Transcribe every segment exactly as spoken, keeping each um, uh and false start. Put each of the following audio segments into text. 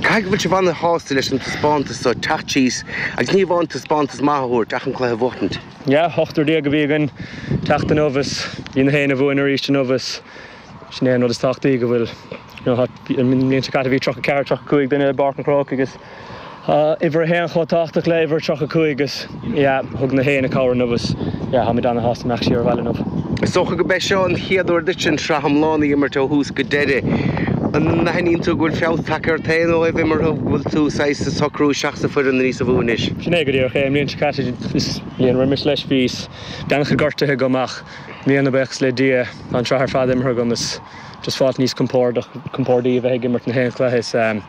Caithfidh go bhfuil sibh an-shásta leis an taispeántas seo teacht síos agus ní amháin taispeántas maith a thabhairt ach an cluiche a bhuachtaint. Yeah, ochtar déag a bhí againn teacht inniu is bhí na haon a bhuain arís inniu is sin é an rud is tábhachtaí go bhfuil an mbliain seo caite bhí tríocha ceathair tríocha cúig duine i bPáirc an Chrócaigh agus uimhir a haon chomh tábhachtach le uimhir tríocha cúig agus yeah, thug na haon a cabhair inniu is yeah, táimid an-shásta imeacht siar abhaile inniu. Is dócha go mbeidh seo an chéad uair duit an tsraith iomlán a imirt ó thús go deireadh. An aithníonn tú go bhfuil feabhas tagtha ort féin ó thaobh imeartha go bhfuil tú saghas ag socrú isteach sa foireann níos mó anois. Sin é go díreach é an mbliain seo caite is bliain roimis leis bhí an-chuid gortuithe agam ach i mbliana buíochas le Dia tá an tsraith ar fad imeartha agam is just fáilt níos compordach compordaí a bheith ag imirt na haon chluiche is um,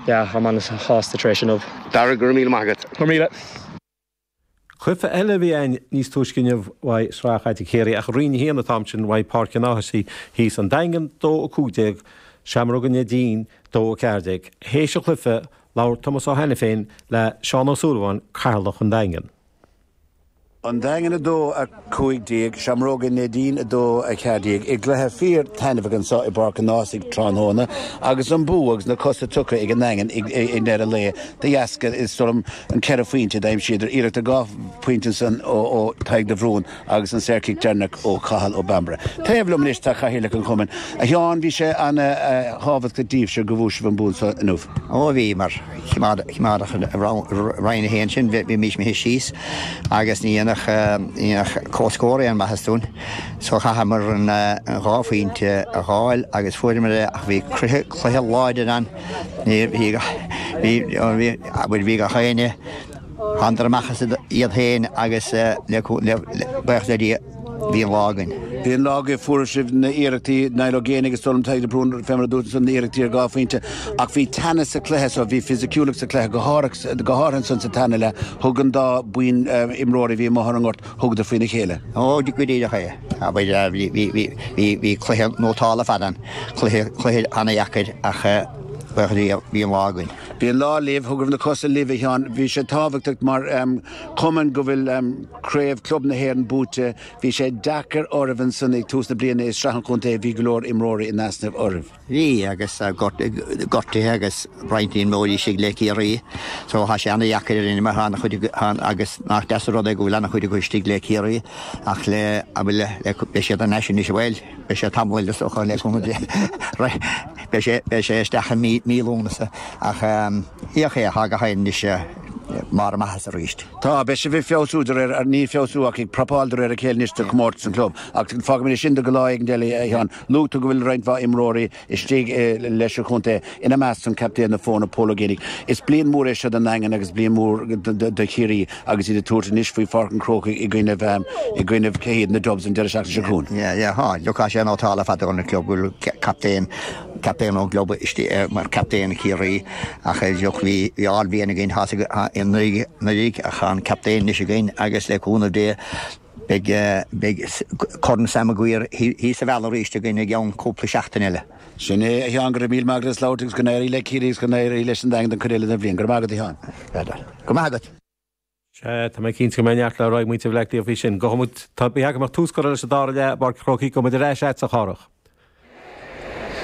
yeah, tá an-sásta tar éis inniu. Dara go raibh míle maith agat. Go míle. Cluiche eile a bhí ann níos túisce inniu uaidh Sraith Chaide Chiarraí ach Roinn a haon an t-am sin uaidh Páirc an Áthais thíos an Daingean dó a cúig déag, Seamróga Neidín dó a ceathair déag. Théis an chluiche labhair Tomás Ó hAiniféin le Seán Ó Súilleabháin, Cathaoirleach an Daingean. An Daingean a dó a cúig déag, Seamróga Neidín a dó a ceathair déag i gcluiche fíor taitneamhach anseo i bPáirc an Ághasaigh tráthnóna agus an bua agus na cosa tugtha ag an nDaingean i ndeireadh lae de dheasca is dóigh liom an ceithre phointe d'aimsíodar iarracht ar dhá phointe ansan ó ó Tadhg de Bhrún agus an saorchic deireanach ó Cathal Ó Bambaire. Taobh liom anois tá Cathaoirleach an Chumainn. A Sheáin, bhí sé an-thábhachtach daoibhse go bhfuair sibh an bua seo inniu. Ó bhí mar chimeádach Roinn a haon sin bhí mis mé síos agus ní dhéanfadh comhscór aon mhaitheas dúinn. So chaitheamar an dhá phointe a fháil agus fuaireamar é ach bhí cluiche cluiche láidir ann bhí bhí bhí gach éinne thánadar amach as iad féin agus le buíochas le Dia bhí an lá againn. Bhí an lá agaibh fuair sibh na iarrachtaí Niall Ó Géibheannaigh agus dóigh liom Tadhg de Brún fé mar a dúirt ansan na iarrachtaí ar dhá phointe ach bhí teannas sa chluiche so bhí fisiciúlacht sa chluiche go háirithe go háirithe ansan sa tarna leath thug an dá buíon imreoirí a bhí amuigh ar an ngort thugadar faoina chéile. Ó go díreach é. Bhí bhí bhí bhí bhí cluiche nótálta fad ann cluiche cluiche an-dheacair ach buíochas le Dia bhí an lá againn. Bhí an lá libh, thug na cosa libh a Sheáin, bhí sé tábhachtach mar chumann go bhfuil craobh club na hÉireann buaite, bhí sé deacair oraibh ansan ag tús na bliana i Sraith an Chontae, bhí go leor imreoirí in easnamh oraibh. Bhí agus gortuithe agus roinnt imreoirí istigh le Ciarraí so tá sé an-dheacair ar mar an-chuid agus nach deas an rud é go bhfuil an-chuid acu istigh le Ciarraí ach le bhfuil le beidh siad an sin is bhfuil beidh sé tamall le socha le beidh sé beidh sé isteach i mí mí Lúnasa ach íoch é thá gach éinne mar amach arís. Tá beidh sibh ag feabhsú de réir ní feabhsú ach ag prapáil de réir a chéile anois do chomórtas an club ach fágfaimid sin do go lá éigin eile a Sheáin. Luaigh tú go bhfuil roinnt mhaith imreoirí istigh leis an chontae ina measc an captaen na foirne Pól Ó Géibheannaigh. Is bliain mhór é seo don Daingean agus bliain mhór do Chiarraí agus iad ag tabhairt anois faoi Pháirc an Chrócaigh i gcoinnibh i gcoinnibh cé hiad na Dubs an deireadh seachtaine seo chugainn. Yeah, yeah, ha, look sé nótála fada an club bhfuil captaen captaen ón gclub istigh mar captaen Chiarraí ach look bhí bhí ardbhliain againn anuraidh ach an captaen anois againn agus le cúnamh Dé beidh beidh Corn Sam Maguire thíos sa bhealach arís againn i gceann cúpla seachtain eile. Sin é a Sheáin go raibh míle maith agat as labhairt agus go n-éirí le Ciarraí agus go n-éirí leis an Daingean don chuid eile den bhliain. Go raibh maith agat a Sheáin. Go maith agat. Sé tá mé cinnte go mbeidh neart le rá ag muintir Bhaile Átha Cliath faoi sin. Go tá bí agam tús curtha leis an dara leath i bPáirc an Chrócaigh go muid ar ais agat a Chárthach.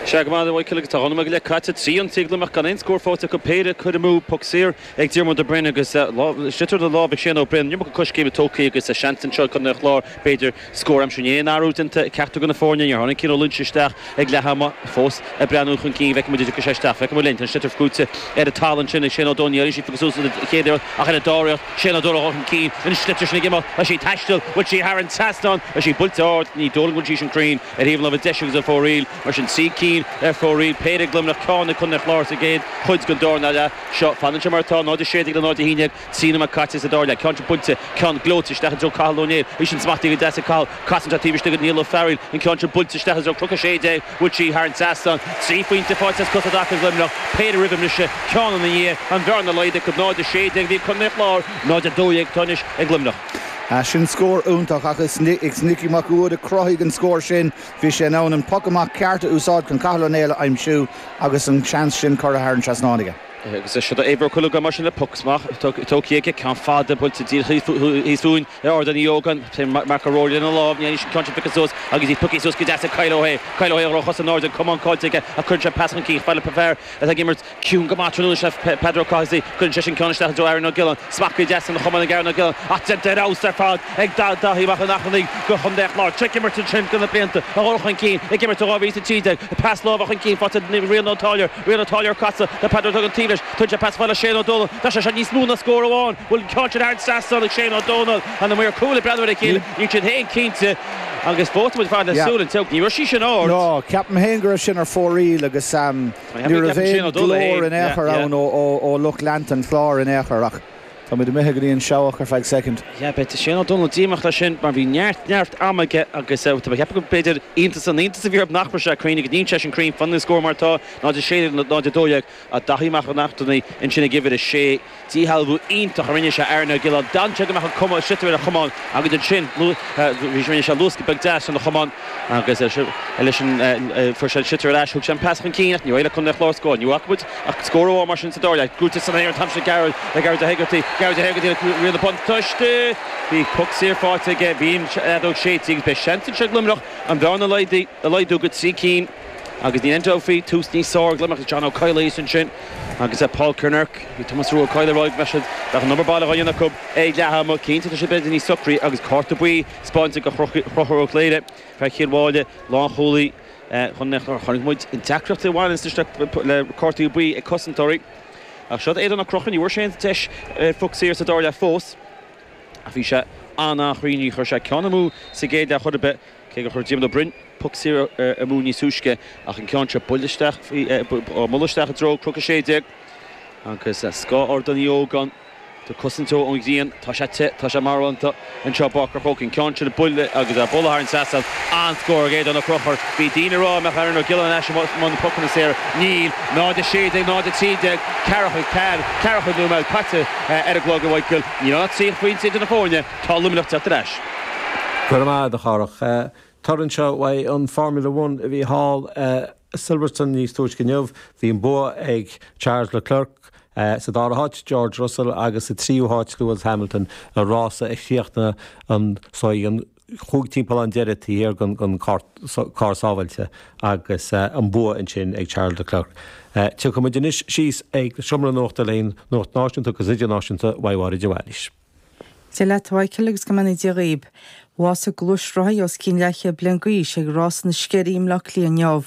Sé go maith Michael agus tá dhá nóiméad go leith caite trí ionsaí ag Luimneach gan aon scór faighte acu péire curtha amú poc saor ag Diarmuid de Brin agus sliotar de lámh ag Shane Ó Broin iomarca coiscéime tógtha agus seans anseo chun an Chláir b'fhéidir scór aimsir aon athrú déanta ceachtar de na foirne níor tháinig Cian Ó Loinsigh isteach ag leath ama fós ag breathnú chun cinn feicfidh muid sé isteach feicfidh linn an sliotar buailte ar an talamh ansin ag Shane Ó Dónaill sí suas an chéad ach ar an dara Shane Ó Dónaill chun cinn an sliotar sin ag imeacht tá sí taisteal bhfuil sí thar an trasnán tá sí buailte ard ní dóigh bhfuil sí sin cruinn ar thaobh láimhe deise agus ar fóraoil mar sin trí cinn ar fóraoil péire ag Luimneach ceann ag Contae an Chláir sa gcéad chuid den dara leath seo fanann sé mar atá náid a sé déag le náid a haon déag trí nóiméad caite sa dara leath ceann sin buailte ceann gleoite isteach i dtreo Cathal Ó Néill í sin smachtaithe go deas ag Cathal casann sé taobh istigh go Niall Ó Fearghail an ceann sin buailte isteach i dtreo Cnoc a sé déag bhfuil sí thar an trasnán trí phointe faighte as cosa i dtaca ag Luimneach péire roimh an mbriseadh ceann ina dhiaidh an bhearna laghdaithe go náid a sé déag bhí Contae an Chláir náid a dó dhéag atá anois ag Luimneach. Sin scór iontach ach is is Nicky Mac a chruthaigh an scór sin bhí sé in ann an poc amach ceart a úsáid chun Cathal Ó Néill a aimsiú agus an seans sin curtha thar an trasnán aige. Agus seo Éibhear Ó Cuileagáin mar sin le poc amach tógtha aige, ceann fada buailte díreach thíos fúinn ar Ardán Uí Ógáin, Marc Ó Ruairí lena lámh, ní an ceann sin pioctha suas agus í pioctha suas go deas ag Kyle Ó hAodha. Kyle Ó hAodha a raibh a chosa in airde, an camán caillte aige ach cuireann sé pas chun cinn, fad le fear atá ag imirt ciúin go maith tráthnóna, sin Peadar Ó Cathasaigh, cuireann seisean ceann isteach i dtreo Aaron Ó Giolláin, smacht deas ina chamán ag Aaron Ó Giolláin ach déanta ar fheabhas ar fad ag Daithí Mac an Airchinnigh do Chontae an Chláir. Ag imirt ansin do na blianta a dhul chun cinn, ag imirt ó dhá mhíle is a trí déag, pas láimhe chun cinn faighte ag Rian Ó Táilliúir, Rian Ó Táilliúir casadh le Peadar Ó Duggan taobh leis, tugann sé pas fada le Shane Ó Dónaill, tá sé seo níos mó ná scór amháin, bhfuil an ceann sin thar an trasnán ag Shane Ó Dónaill, tá na maoir cúil ag breathnú ar a chéile, níl siad féin cinnte agus fós tá muid ag fanacht le súil an tseabhac, ní raibh sí sin ard. No, ceapaim féin go raibh sin ar fóraoil agus ní raibh aon ghlór in aon chor ann ó lucht leanta an Chláir in aon chor ach táimid imithe go dtí an seabhac ar feadh soicind. Yeah, beidh Shane Ó Dónaill díomách leis sin mar bhí neart, neart ama aige agus tá mé ag ceapadh go b'fhéidir iontas an iontas a bhí orthu nach raibh sé cruinn agus níl sé sin cruinn, fanann an scór mar atá, náid a sé déag, náid a dó dhéag, ach Daithí Mac an Airchinnigh ansin ag uimhir a sé, díshealbhú iontach a rinne sé Aaron Ó Giolláin, d'fhan sé go mbeadh an cuma sliotar ar a chamán agus ansin rinne sé luascadh beag deas lena chamán agus leis an fuair sé an sliotar ar ais, thug sé an pas chun cinn ach níor éirigh le Contae an Chláir scór, ní bhfaca muid ach scór amháin mar sin sa dara leath. Buailte san aer an t-am sin Gearóid le Gearóid Ó hÉigeartaigh, Gearóid Ó hÉigeartaigh le riail na buntáiste. Bhí poc saor faighte aige, bhí an fheadóg séidte agus beidh seans anseo ag Luimneach an bhearna a laghdú go trí cinn agus níl aon dabht faoi, tús níos fearr ag Luimneach, John Ó Coileáin ansin agus Paul Kinnerk, bhí Tomás Rua Ó Coileáin ag rá go mbeadh siad, bheadh an obair baile á dhéanamh acu ag leath ama, cinnte tá siad b'fhéidir níos socraí agus cárta buí spáinte do Chonchúr Ó Cléire, fear Chill Mháille, lánchúlaí Chontae an Chláir. Chonaic muid an deacracht a bhaineann le cártaí buí ag cosantóirí. Ach seo Aodán Ó Conchúir, ní bhfuair sé aon deis ar phoc saor sa dara leath fós. Ach bhí sé an-an-chruinn, ní chuir sé ceann amú sa gcéad leath chor ar bith, cé gur chuir Diarmuid Ó Broin poc saor amú níos túisce, ach an ceann seo buailte isteach, á mbualadh isteach i dtreo Cnoc a sé déag agus scáth Ardán Uí Ógáin. Tá cosaint ón ghrian, tá sé te, tá sé marbhánta anseo i bPáirc an Chrócaigh. An ceann sin buailte agus á bualadh thar an trasnán. An-scór ag Aodán Ó Conchúir. Bhí daoine ag rá an mbeadh Aaron Ó Giolláin ar ais i mbun na pocanna saora. Níl. náid a sé déag, náid a trí déag, ceathracha ceathair, ceathracha nóiméad caite ar an gclog, a Mhichael. Níl ann ach trí phointe idir na foirne. Tá Luimneach teacht ar ais. Go raibh maith agat, a Chárthach. Toradh anseo uaidh an Formula One a bhí thall i Silverstone níos túisce inniu. Bhí an bua ag Charles Leclerc. Sa dara háit, George Russell agus sa tríú háit, Lewis Hamilton, an rása a chríochnaigh an an chúig timpeallán deiridh taobh thiar den carr sábháilte agus an bua ansin ag Charles Leclerc. Tiocfaidh muid anois síos ag seomra nuachta le nuacht náisiúnta agus idirnáisiúnta uaidh Mháire de Bhailís. Dia leat a Mhichael agus go mbeannaí Dia dhaoib. Bhásaigh gluaisrothaí os cionn leathchéad bliain d'aois ag Rása na Sceirí i mBleá Cliath inniu.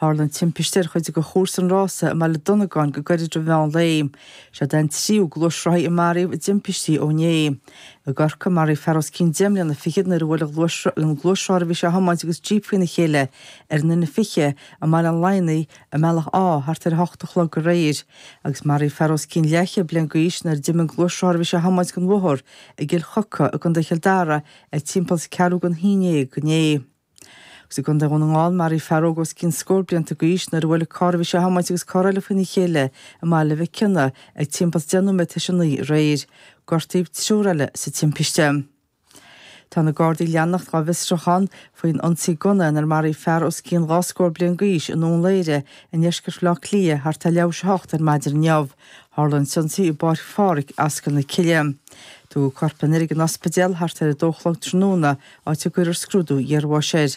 Tharla an timpiste ar chuid de chúrsa an rása i mBaile Dhonnagáin go gairid roimh mheán lae. Seod é an tríú gluaisrothaí a maraíodh i dtimpistí ó inné. I gCorcaigh, maraíodh fear os cionn deich mbliana fichead nuair a bhuail an gluaisrothar a bhí sé a thiomáint agus jíp faoina chéile ar an N fiche i mBaile an Laighneigh i mBealach Átha thart ar a hocht a chlog aréir. Agus maraíodh fear os cionn leathchéad bliain d'aois nuair a d'imigh an gluaisrothar a bhí sé a thiomáint den bhóthar i gCill Choca i gContae Chill Dara ag timpeall ceathrú don haon déag inné. Agus i gContae Dhún na nGall, maraíodh fear óg os cionn scór blianta d'aois nuair a bhuail an carr a bhí sé a thiomáint agus carr eile faoina chéile i mBaile Mhic Cionnaith ag timpeall deich nóiméad tar éis a naoi aréir. Gortaíodh triúr eile sa timpiste. Tá na Gardaí ag leanacht dhá bhfiosrúchán faoin ionsaí gunna inar maraíodh fear os cionn dhá scór bliain d'aois i nDún Laoghaire i ndeisceart Bhaile Átha Cliath thart ar leathuair tar éis a hocht ar maidin inniu. Tharla an t-ionsaí i bPáirc Phádraig, Ascaill na Cille. Tugadh corp an fhir ag an ospidéal thart ar a dó a chlog tráthnóna, áit a gcuirfear scrúdú iarbháis air.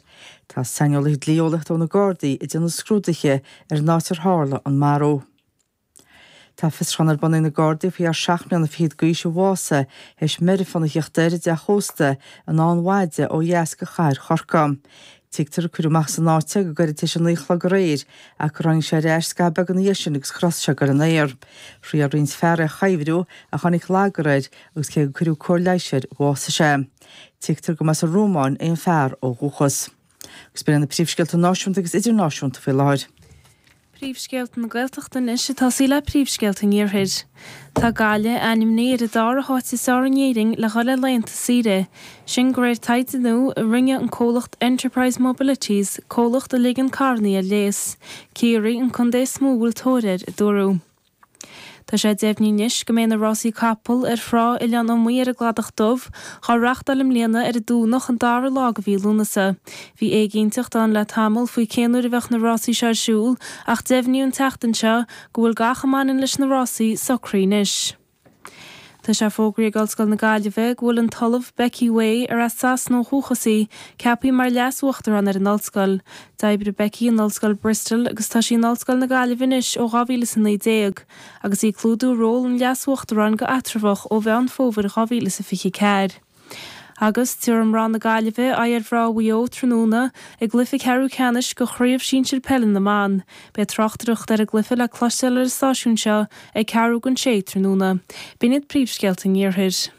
Tá saineolaithe dlí-eolaíochta ó na Gardaí ag déanamh scrúduithe ar an áit ar tharla an marú. Tá fiosrúchán ar bun ag na Gardaí faoi fhear seacht mbliana fichead d'aois a bhásaigh théis meirfean a theacht air i dteach ósta i nDamhan Mhaide ó dheas de chathair Chorcaí. Tuigtear gur cuireadh amach as an áit é go gairid tar éis a naoi a chlog aréir ach gur tháinig sé ar ais scaitheamh beag ina dhiaidh sin agus chros sé ag goil in aer. Thriail roinnt fear é a chuibhriú ach tháinig lagar air agus cé gur cuireadh cóir leighis air, bhásaigh sé. Tuigtear go mba as an Rómáin é an fear ó dhúchas. Agus b'in iad na príomhscéalta náisiúnta agus idirnáisiúnta faoi láthair. Príomhscéalta na Gaeltachta anois ag tosaí le príomhscéalta an Iarthair. Tá Gaillimh ainmnithe ar an dara háit is fearr in Éirinn le dhul ar laethanta saoire. Sin de réir taighde nua a rinne an comhlacht Enterprise Mobilities, comhlacht a ligeann carranna ar léas. Ciarraí an contae is mó a bhfuil tóir air, a dúradh. Tá sé deimhnithe anois go mbeidh na rásaí capall ar thrá Oileán Iomaí ar an gCladach Dubh dhá reáchtáil i mbliana ar an Domhnach an dara lá de mhí Lúnasa. Bhí éiginnteacht ann le tamall faoi cén uair a bheadh na rásaí seo ar siúl ach deimhníodh an tseachtain seo go bhfuil gach a mbaineann leis na rásaí socraithe anois. Tá sé fógraithe ag Ollscoil na Gaillimhe go bhfuil an tOllamh Becky Way, ar as Sasana ó dhúchas í, ceaptha mar Leas-Uachtarán ar an Ollscoil. D'oibrigh Becky in Ollscoil Bristol agus tá sí in Ollscoil na Gaillimhe anois ó dhá mhíle is a naoi déag, agus í ag clúdú ról an Leas-Uachtaráin go eatramhach ó Mheán Fómhair dhá mhíle is a fiche ceathair. Agus tabharfaidh mná na Gaillimhe aghaidh ar mhná Mhaigh Eo tráthnóna i gcluiche ceathrú ceannais de Chraobh Shinsir Peile na mBan. Beidh tráchtaireacht ar an gcluiche le cloisteáil ar an stáisiún seo ag ceathrú don sé tráthnóna. B'in iad príomhscéalta an Iarthair.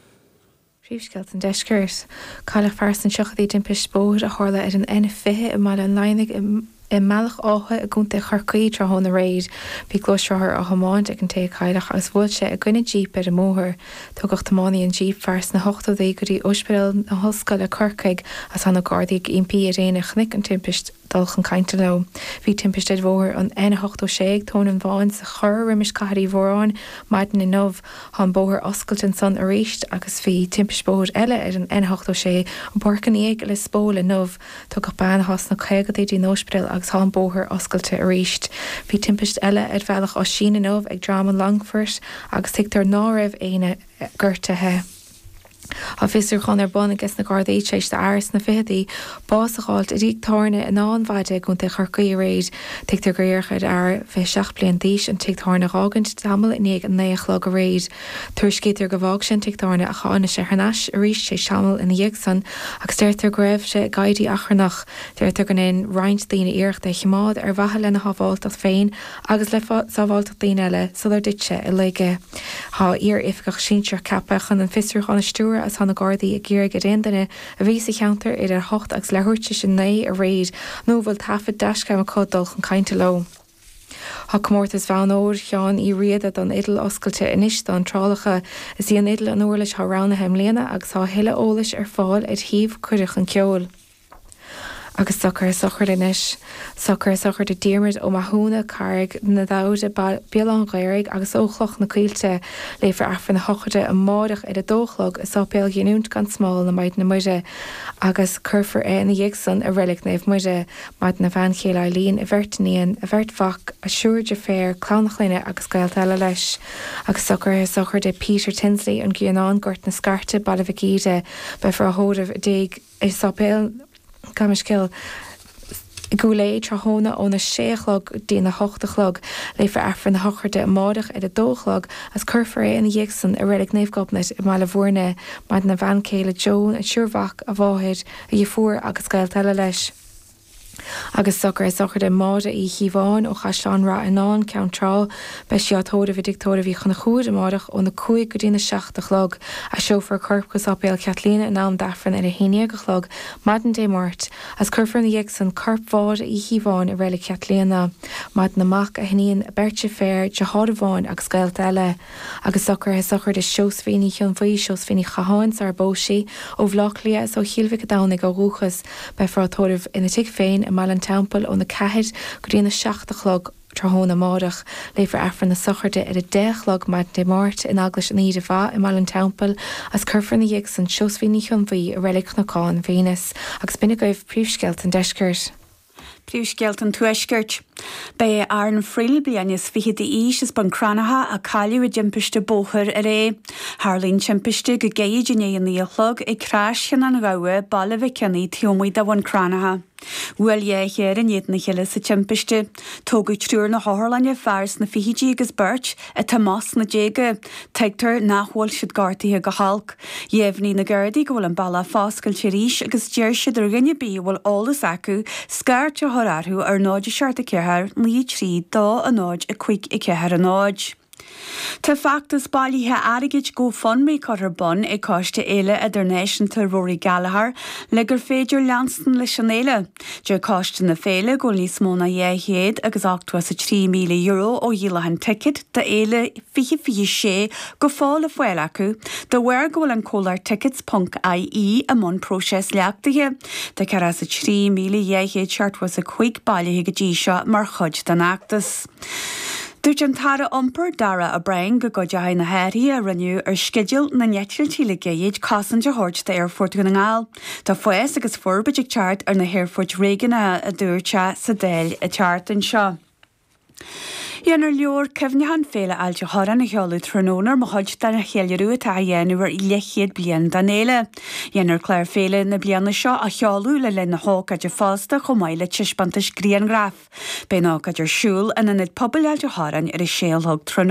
Príomhscéalta an Deiscirt. Cailleadh fear sna tríochaidí i dtimpiste bóthair a tharla ar an N fiche i mBaile an Laighneaigh i mBealach Átha i gContae Chorcaí tráthnóna aréir. Bhí gluaisrothar á thiomáint ag an té a cailleadh agus bhuail sé i gcoinne jíp ar an mbóthar. Tugadh tiománaí an jíp, fear sna hochtóidí, go dtí Ospidéal na hOllscoile, Corcaigh, agus tá na Gardaí ag impí ar éinne a chonaic an timpist dul chun cainte leo. Bhí timpiste ar bhóthar an N ochtó sé ag Tóin an Bháin sa Chorr roimis Cathair Uí Mhóráin maidin inniu. Tá an bóthar oscailte ansan arís agus bhí timpiste bóthair eile ar an N ochtó sé i bPáirc an Fhiaigh i Lios Póil inniu. Tugadh bean atá sna caogaidí dtí an ospidéal agus tá an bóthar oscailte arís. Bhí timpiste eile ar Bhealach Oisín inniu ag Droim an Longfoirt agus tuigtear ná raibh éinne gortaithe. Tá fiosrúchán ar bun ages na Gardaí tar éis d'fhear sna fichidí bás a dh'fháilt i dtigh tábhairne in Áth an Mhaide i gContae Chorcaí aréir. Tuigtear gur iarradh ar fhear fiche seacht bliain d'aois an tigh tábhairne a dh'fhágaint tamall i ndiaidh a naoi a chlog aréir. Tuairiscítear gur bhfág sé an tigh tábhairne ach tháinig sé thar n-ais arís tar éis tamaill ina dhiaidh san agus deirtear go raibh sé ag éirí achrannach. Deirtear go ndein roinnt daoine iarracht é a chimeád ar mhaithe lena shábháilteacht féin agus le sábháilteacht daoine eile sular dtit sé i laige. Tá iar-oifigeach sinsearach ceaptha chun an fiosrúchán a stiúradh agus tá na Gardaí ag iarraidh ar aon duine a bhí sa cheantar idir a hocht agus leathuair tar éis a naoi aréir nó a bhfuil taifead dashcam acu dul chun cainte leo. Tá comórtas Bhonn Óir Sheáin Uí Riada don fhidil oscailte anois d'iontrálacha. Is í an fhidil an uirlis atá roghnaithe i mbliana agus tá a thuilleadh eolais ar fáil ar shuíomh Cuireadh Chun Ceoil. Agus socruithe sochraide anois. Socruithe sochraide Diarmuid Ó Mathúna, Carraig na Damhda, Béal Átha an Ghaorthaidh agus ó Chloch na Coillte. Léifear Aifreann na sochraide amáireach ar a dó a chlog i Sáipéal Ghiniúint gan Smál na Maighdine Muire agus cuirfear é ina dhiaidh san i Reilig Naomh Muire. Maireann a bhean chéile Eileen, a bheirt iníon, a bheirt mhac, a thriúr deirféar, clann a chlainne agus gaolta eile leis. Agus socruithe sochraide Peter Tinsley, An Grianán, Gort na Scairte, Baile Mhic Íde. Beifear á thórramh i dtigh i Sáipéal. Gabh mo leithscéal i gCúil Aodha tráthnóna óna sé a chlog go dtína hocht a chlog. Léifear Aifreann na sochraide amáireach ar a dó a chlog agus cuirfear é ina dhiaidh san i Reilig Naomh Gobnait i mBaile Bhúirne. Maireann a bhean chéile Joan, a thriúr mhac, a mháthair, a dheirfiúr agus gaolta eile leis. Agus socruithe sochraide Máire Uí Chíobháin ó Chaisleán Rath Fhionáin, Ceann Trá. Beidh sí á tórramh i dtigh tórraimh Uí Chonchúir amáireach óna cúig go dtína seacht a chlog. Aistreofar a corp go Sáipéal Chaitríona in am d'Aifreann ar a haon déag a chlog maidin Dé Máirt, agus cuirfear ina dhiaidh san corp Mháire Uí Chíobháin i Reilig Chaitríona. Maireann a mac, a hiníon, a beirt deirféar, deartháir amháin agus gaolta eile. Agus socruithe sochraide Seosaimhín Ní Chionbhuí, Seosaimhín Ní Chatháin sarar phós sí, ó Bhaile Átha Cliath is ó Chill Mhic an Domhnaigh ó dhúchas. Beifear á tórramh ina tigh féin i mBaile an Teampaill óna ceathair go dtína seacht a chlog tráthnóna amárach. Léifear Aifreann na sochraide ar a deich a chlog maidin Dé Máirt in Eaglais an Aoire Mhaith i mBaile an Teampaill agus cuirfear ina dhiaidh san Seosaimhín Ní Chionbhuí i Reilig Chnocán Mhaonas. Agus b'in agaibh príomhscéalta an deiscirt. Príomhscéalta an Tuaiscirt. Ba é Aaron Friel, bliain is fiche d'aois, as Bun Cranncha, a cailleadh i dtimpiste bóthair aréir. Tharla an timpiste go gairid i ndiaidh a naoi a chlog ag Croscheann an Ghabha, Baile Mhic Cionnaith, taobh amuigh de Bhun Cranncha. Bhuail dhá charr in éadan a chéile sa timpiste. Tógadh triúr na hotharlainne, fear sna fichidí agus beirt atá amach sna déaga. Tuigtear nach bhfuil siad gortaithe go holc. Dheimhnigh na Gardaí go bhfuil an bealach foscailte arís agus deir siad ar dhuine ar bith a bhfuil eolas acu scairt a chur orthu ar náid a seacht a ceathair naoi trí dó a náid a cúig a ceathair a náid. Tá feachtas bailithe airgid GoFundMe curtha ar bun ag Coiste Fhéile Idirnáisiúnta Rory Gallagher le gur féidir leanstan leis an fhéile. Deir Coiste na Féile go bhfuil níos mó ná dhá chéad agus ochtó is a trí míle euro ó dhíolachán ticéad d'Fhéile fiche fiche sé go fóill le fáil acu de bharr go bhfuil an comhlacht Tickets ponc I E i mbun próiseas leachtaithe. Tá ceathracha is a trí míle dhá chéad seachtó is a cúig bailithe go dtí seo mar chuid den fheachtas. Dúirt an tAire Iompair Darragh O'Brien go gcuideoidh na hathruithe a rinneadh ar sceideal na n-eitiltí le gairid cosaint a thabhairt d'Aerfort Dhún na nGall. Tá fás agus forbairt ag teacht ar na haerfoirt réigiúnacha a dúirt sé sa Dáil an tseachtain seo. Déanfar leabhar cuimhneacháin Féile Ailt an Chorráin a sheoladh tráthnóna mar chuid den cheiliúradh atá á dhéanamh ar leathchéad bliain den fhéile. Déanfar clár féile na bliana seo a sheoladh le linn na hócáide fosta chomh maith le taispeántais grianghraf. Beidh an ócáid ar siúl in Ionad Pobail Ailt an Chorráin ar a sé a chlog tráthnóna.